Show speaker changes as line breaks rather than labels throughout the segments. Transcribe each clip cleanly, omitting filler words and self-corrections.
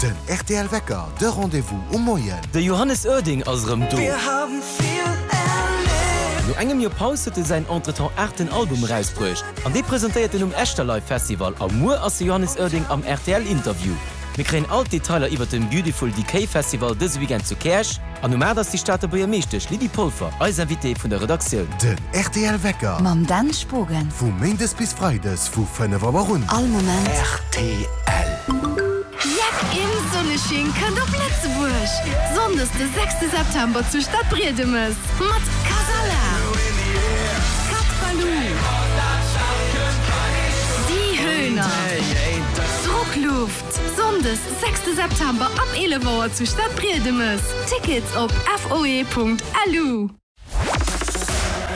Den rtl Wecker, de Rendez-vous um Moien.
De Johannes Oerding ass erëm do! No engem Joer Paus huet e säin entretemps aachten Album erausbruecht an dee presentéiert en um Echterlive Festival a muer ass de Johannes Oerding am rtl Interview. Mir kréien all d'Detailer iwwert den Beautiful Decay Festival dëse Weekend zu Käerch an um 8 ass déi Stater Buergermeeschtesch Lydie Polfer eis Invitée vun der Redaktioun.
Den rtl Wecker.
Mam Dan Spogen.
Vu Méindes bis Freides vu 5 Auer un.
All Moment.
Rtl.
Jeck im Sonnesching kënnt op Lëtzebuerg! Sonndes de sechste September zu Stadbriedemes mat Kasala, Cat Baloo, Die Höhner, Druckluft. Sonndes sechste September ab 11 Auer zu Stadbriedemes. Tickets op foe.lu.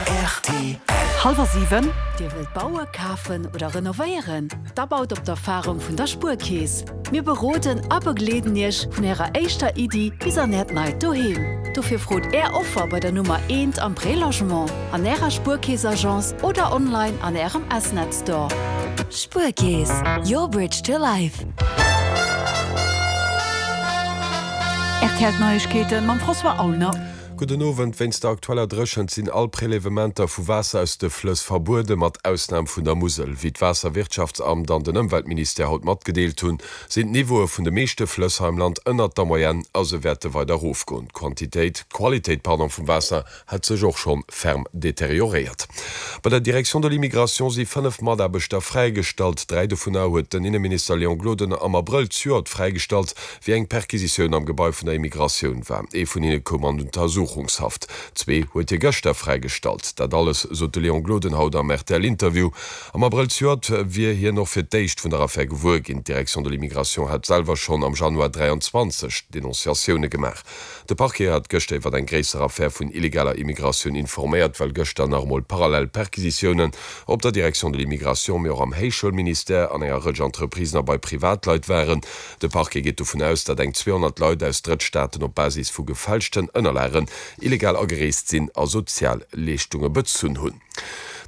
Rtl.
Hallwer 7. Dir wëllt baue, kafen oder renovéieren? Da baut op d'Erfarung vun der Spuerkeess. Mir beroden a begleeden Iech vun Ärer éischter Iddi bis an Äert neit Doheem. Dofir frot Är Offer bei der Nummer eent am Prélogement, an Ärer Spuerkeess-Agence oder online an Ärem S-Net Store.
Spuerkeess, your bridge to life.
Rtl Neiegkeeten mam François Aulner.
Gudden Owend. Wéinst der aktueller Dréchent sinn all Prélèvementer vu Waasser aus de Flëss verbueden, mat Ausnam vun der Musel. Wéi d'Waasserwirtschaftsamt an den Ëmweltministère haut matgedeelt hunn, sinn d'Niveaue vun de meeschte Flëss hei am Land ënnert der Moyenne a se wäerte weider erofgoen. D'Quantitéit, d'Qualitéit, pardon, vum Waasser hätt sech och schonn ferm deterioréiert. Bei der Direction de l'immigration si 5 Mataarbechter fräigestallt. 3 dovunner huet den Inneminister Léon Gloden am Abrëll zejoert fräigestallt, wéi eng Perquisitioun am Gebai vun der Immigratioun war. Ee vun hinne koum an Untersuchungshaft. Zwee huet hie gëschter fräigestallt. Dat alles sot de Léon Gloden haut am RTL-Interview. Am Abrëll zejoert wier hien och fir d'éischt vun der Affär gewuer ginn. D'Direction de l'immigration hat selwer schonn am Januar 23 Denonciatioune gemaach. De Parquet hat gëschter iwwer eng gréisser Affär vun illegaler Immigratioun informéiert, well gëschter nach emol parallel Perquisitiounen op der Direction de l'immigration, mee och am Héichschoulministère, an enger Rëtsch Entreprisen a bei Privatleit waren. De Parquet geet dovun aus, datt eng 200 Leit aus Drëttstaaten op Basis vu gefälschten Ënnerlagen illegal agereest sinn a Sozialleeschtunge bezunn hunn.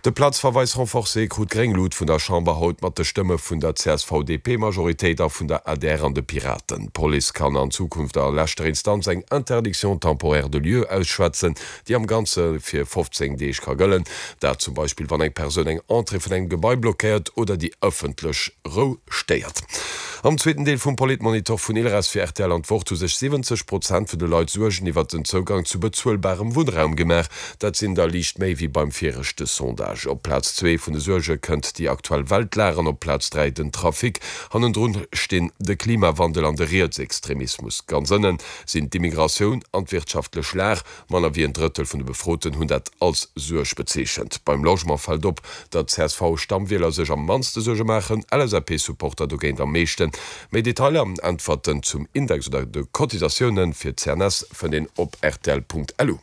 De Platzverweis renforcé krut gréng Lut vun der Chamber haut mat de Stëmme vun der CSV-DP-Majoritéit a vun der adr an de Piraten. D'Police kann an Zukunft a leschter Instanz eng Interdiction temporaire de lieu ausschwätzen, déi am Ganze fir 15 Deeg ka gëllen. Dat zum Beispill wann eng Persoun eng Entrée vun engem Gebai blockéiert oder déi ëffentlech Rou stéiert. Am zweeten Deel vum Politmonitor vun Ilres fir rtl an d'Wort hu sech 70 Prozent vun de Leit Suergen iwwert den Zougang zu bezuelbarem Wunnraum gemaach. Dat sinn der liicht méi wéi beim viregte Sondage. Op Plaz zwee vun de Suerge kënnt déi aktuell Weltlag an op Plaz 3 den Trafic. Hannendrun stinn de Klimawandel an de Rietsextremismus. Ganz ënne sinn d'Immigratioun an d'wirtschaftlech Lag. Manner wéi en Drëttel vun de Befroten hunn dat als Suerg bezeechent. Beim Logement fält op, datt CSV-Stammwieler sech am mannste Suerge maachen, LSAP-Supporter dogéint am meeschten. Méi Detailer an Äntwerten zum Index oder de Cotisatioune fir d'CNS fënnt een op rtl.lu.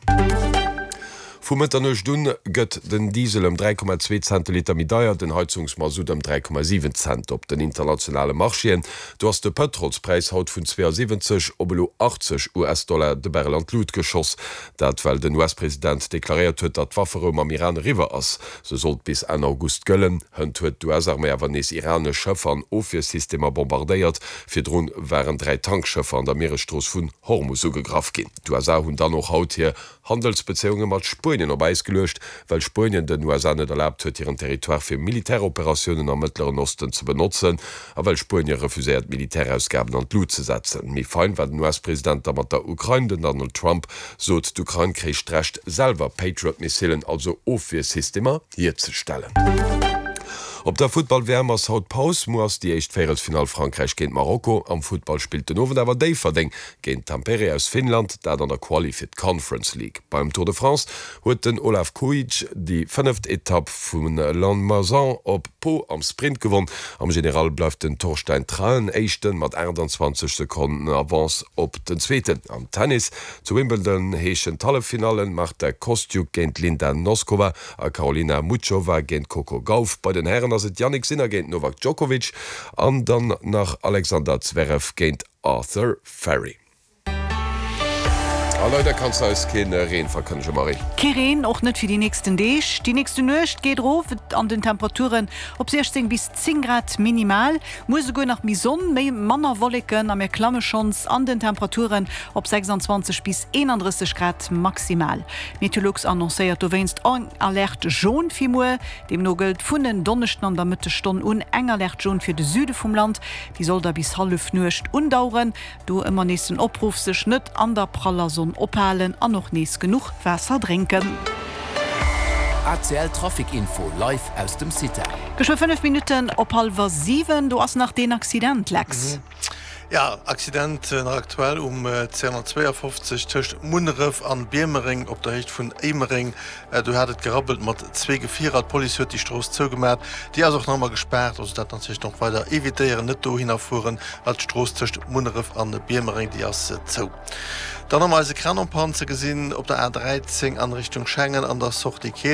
Vu Mëtternuecht un gëtt den Diesel ëm 3,2 Cent de Liter méi deier, den Heizungsmasutt ëm 3,7 Cent. Op den internationale Marchéen, do ass de Pëtrolspräis haut vun 72 op elo 80 US-Dollar de Barrel an d'Lut geschoss. Dat well den US-President deklaréiert huet, datt d'Wafferou mam Iran eriwwer ass. Se sollt bis Enn August gëllen. Hënt huet d'US-Arméi awer nees iranesch Schëffer an Ofwiersystemer bombardéiert. Virdrun waren 3 Tankschëffer an der Mieresstrooss vun Hormus ugegraff ginn. D'USA hunn dann och haut hir Handelsbezéiunge mat Spuenien op Äis geluecht, well Spuenien den USA net erlaabt huet, hiren Territoire fir Militäroperatiounen am Mëttleren Osten ze benotzen a well Spuenie refuséiert, d'Militärausgaben an d'Lut ze setzen. Méi fein war den US-President da mat der Ukrain. Den Donald Trump sot, d'Ukrain kréich d'Recht, selwer Patriot-Missilen, also Ofwiersystemer, hierzestellen. Op der Futtball-WM ass haut Paus. Muer ass déi éischt Véierelsfinall Frankräich géint Marokko. Am Futtball spillt den Owend awer Déifferdeng géint Tampere aus Finnland, dat an der Quali fir d'Conference League. Beim Tour de France huet den Olav Kooij déi fënneft Etapp vu Lannemezan op Pau am Sprint gewonn. Am General bleift den Torstein Traen Éischten mat 28 Sekonnen Avance op den Zweeten. Am Tennis zu Wimbledon heeschen d'Halleffinallen Marta Kostyuk géint Linda Noskova a Karolina Muchova géint Coco Gauff. Bei den Hären ass et Jannik Sinner géint Novak Djokovic an dann nach Alexander Zverev géint Arthur Fery. A leider kanns de eis keen Reen verkënnegen, Marie.
Kee Reen, och net fir déi nächsten Deeg. Déi nächste Nuecht geet erof an den Temperaturen op 16 bis 10 Grad minimal. Muer souguer nach méi Sonn, méi manner Wolleken a mir klamme schonns an den Temperaturen op 26 bis 31 Grad maximal. Meteolux annoncéiert dowéinst eng Alerte jaune fir muer. Deemno gëllt vun en Donneschden an der Mëttesstonn un eng Alerte jaune fir de Süde vum Land. Déi soll da bis Hallefnuecht undaueren. Do ëmmer nees den Opruff, sech net an der praller Sonn ophalen an och nees genuch Waasser drénken.
ACL Trafic Info live aus dem CITA.
Geschwë 5 Minutten op hallwer 7, do ass nach deen Accident, Lex.
Jo, Accident nach aktuell um 252 tëscht Munneref an Biermereng op der Héicht vun Éimereng. Do hat et gerabbelt mat zwee Gefierer. D'Police huet déi Strooss zougemat. Déi ass och nach ëmmer gespaart. Also dat natierlech nach weider evitéieren, net dohinner fueren, well d'Strooss tëscht Munneref an Biermereng, déi ass zou. Dann hu mer eise Kran en panne ze gesinn op der A 13 an Richtung Schengen an der Sortie Keel.